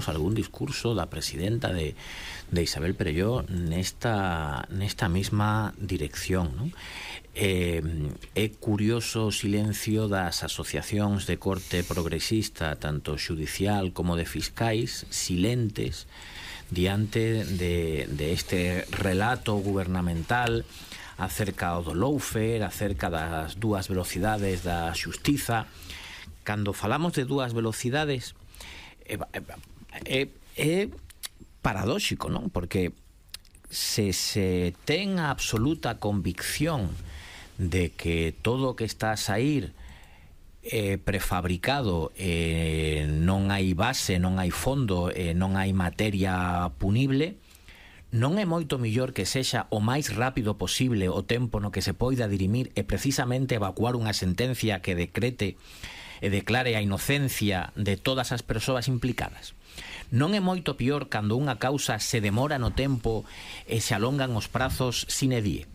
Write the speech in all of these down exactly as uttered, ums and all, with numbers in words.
algún discurso da presidenta de, de Isabel Perelló nesta, nesta mesma dirección, non? Eh, é curioso o silencio das asociacións de corte progresista, tanto xudicial como de fiscais, silentes diante de, de este relato gubernamental acerca do lawfare, acerca das dúas velocidades da xustiza. Cando falamos de dúas velocidades, é, é, é paradóxico, non? Porque se se ten a absoluta convicción de que todo o que está a sair é prefabricado, eh, non hai base, non hai fondo, eh, non hai materia punible, non é moito mellor que sexa o máis rápido posible o tempo no que se poida dirimir e precisamente evacuar unha sentencia que decrete e declare a inocencia de todas as persoas implicadas? Non é moito pior cando unha causa se demora no tempo e se alongan os prazos sine die?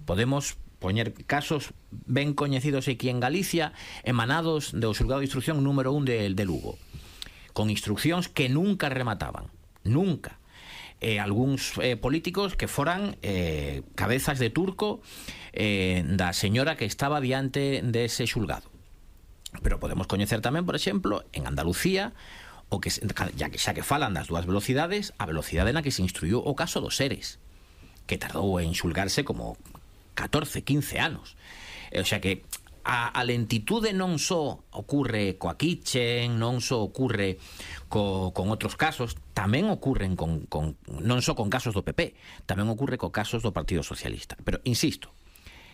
Podemos poñer casos ben coñecidos aquí en Galicia, emanados do xulgado de instrucción número un de, de Lugo, con instruccións que nunca remataban, nunca. Eh, algúns eh, políticos que foran eh, cabezas de turco eh, da señora que estaba diante dese xulgado. Pero podemos coñecer tamén, por exemplo, en Andalucía, o que ya que xa que falan das dúas velocidades, a velocidade na que se instruiu o caso dos Eres, que tardou en xulgarse como catorce, quince anos. O sea que a, a lentitude non só ocurre coa Kitchen, non só ocurre co, con outros casos, tamén ocurren con, con, non só con casos do P P, tamén ocurre co casos do Partido Socialista. Pero, insisto,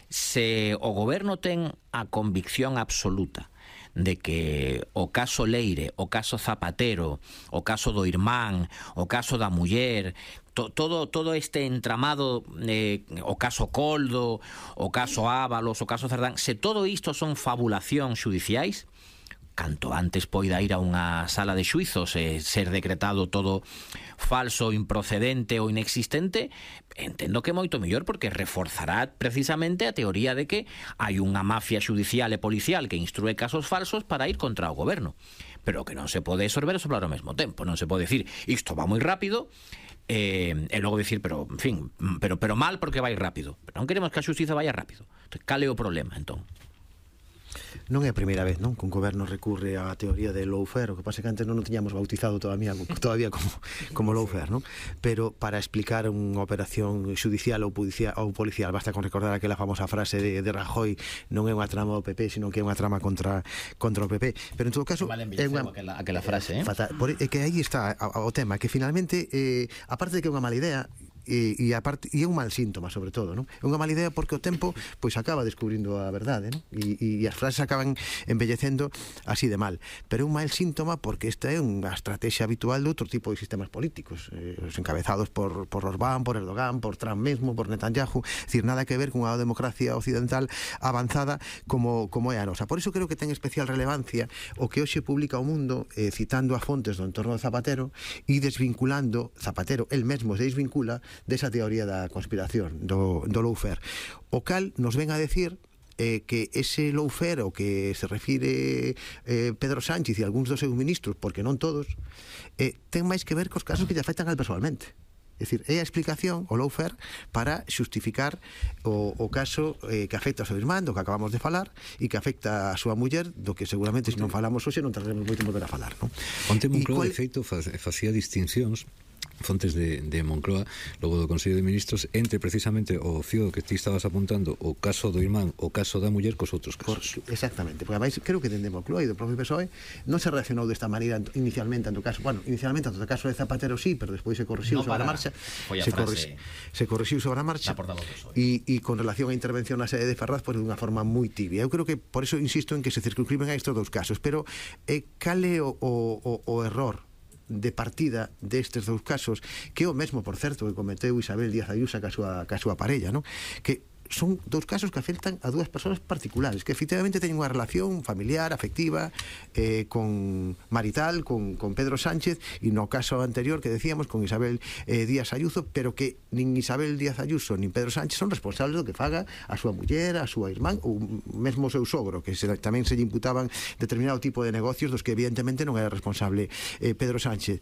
se o goberno ten a convicción absoluta de que o caso Leire, o caso Zapatero, o caso do irmán, o caso da muller, to, todo, todo este entramado, eh, o caso Coldo, o caso Ábalos, o caso Cerdán, se todo isto son fabulacións xudiciais, canto antes poida ir a unha sala de xuizos e ser decretado todo falso, improcedente ou inexistente, entendo que moito mellor, porque reforzará precisamente a teoría de que hai unha mafia xudicial e policial que instrue casos falsos para ir contra o goberno, pero que non se pode sorber e soplar ao mesmo tempo. Non se pode decir isto va moi rápido eh, e logo decir, pero en fin, pero, pero mal porque vai rápido. Pero non queremos que a xustiza vaya rápido. Entonces, cal é o problema, entón? Non é a primeira vez, non? Que un goberno recurre á teoría de lawfare, o que pasa que antes non o tiñamos bautizado todavía, todavía como, como lawfare, non? Pero para explicar unha operación xudicial ou policial, ou policial basta con recordar aquela famosa frase de, de Rajoy: non é unha trama do P P, sino que é unha trama contra, contra o P P. Pero en todo caso é unha, aquela, aquela frase, eh? Fatal, por, é que aí está o tema, que finalmente eh, aparte de que é unha mala idea, e, e, aparte, e é un mal síntoma, sobre todo, non? É unha mala idea porque o tempo pois acaba descubrindo a verdade, non? E, e as frases acaban embellecendo así de mal, pero é un mal síntoma porque esta é unha estrategia habitual de outro tipo de sistemas políticos, eh, os encabezados por, por Orbán, por Erdogan, por Trump mesmo, por Netanyahu. É dicir, nada que ver cunha democracia occidental avanzada como, como é a nosa. Por iso creo que ten especial relevancia o que hoxe publica o Mundo, eh, citando a fontes do entorno de Zapatero e desvinculando Zapatero, el mesmo se desvincula desa teoría da conspiración, do, do lawfare, o cal nos ven a decir eh, que ese lawfare o que se refire eh, Pedro Sánchez e algúns dos seus ministros, porque non todos, eh, ten máis que ver cos casos que lle afectan al personalmente. É dicir, é a explicación, o lawfare, para xustificar o, o caso eh, que afecta ao seu irmán, do que acabamos de falar, e que afecta a súa muller, do que seguramente se non falamos hoxe non tardaremos moito en volver a falar, non? Onte Moncloa, cual... de feito, facía distincións, fontes de, de Moncloa, logo do Consello de Ministros, entre precisamente o fío que ti estabas apuntando, o caso do irmán, o caso da muller, cos outros casos. Por, exactamente, porque ademais creo que dende Moncloa e do propio P S O E non se reaccionou desta maneira inicialmente ante o caso, bueno, inicialmente ante o caso de Zapatero sí, pero despois se corrixiu no, sobre a marcha, a se, corri, se corrixiu sobre a marcha e, e con relación á intervención na sede de Ferraz, pois pues, dunha forma moi tibia. Eu creo que por eso insisto en que se circunscriben a estes dous casos, pero eh, cal é o, o, o error de partida destes dous casos, que é o mesmo, por certo, que cometeu Isabel Díaz Ayuso ca súa, ca súa parella, non? Que son dous casos que afectan a dúas persoas particulares que efectivamente teñen unha relación familiar, afectiva, eh, con marital, con, con Pedro Sánchez, e no caso anterior que decíamos con Isabel eh, Díaz Ayuso, pero que nin Isabel Díaz Ayuso nin Pedro Sánchez son responsables do que faga a súa muller, a súa irmán ou mesmo o seu sogro, que se, tamén se lle imputaban determinado tipo de negocios dos que evidentemente non era responsable eh, Pedro Sánchez.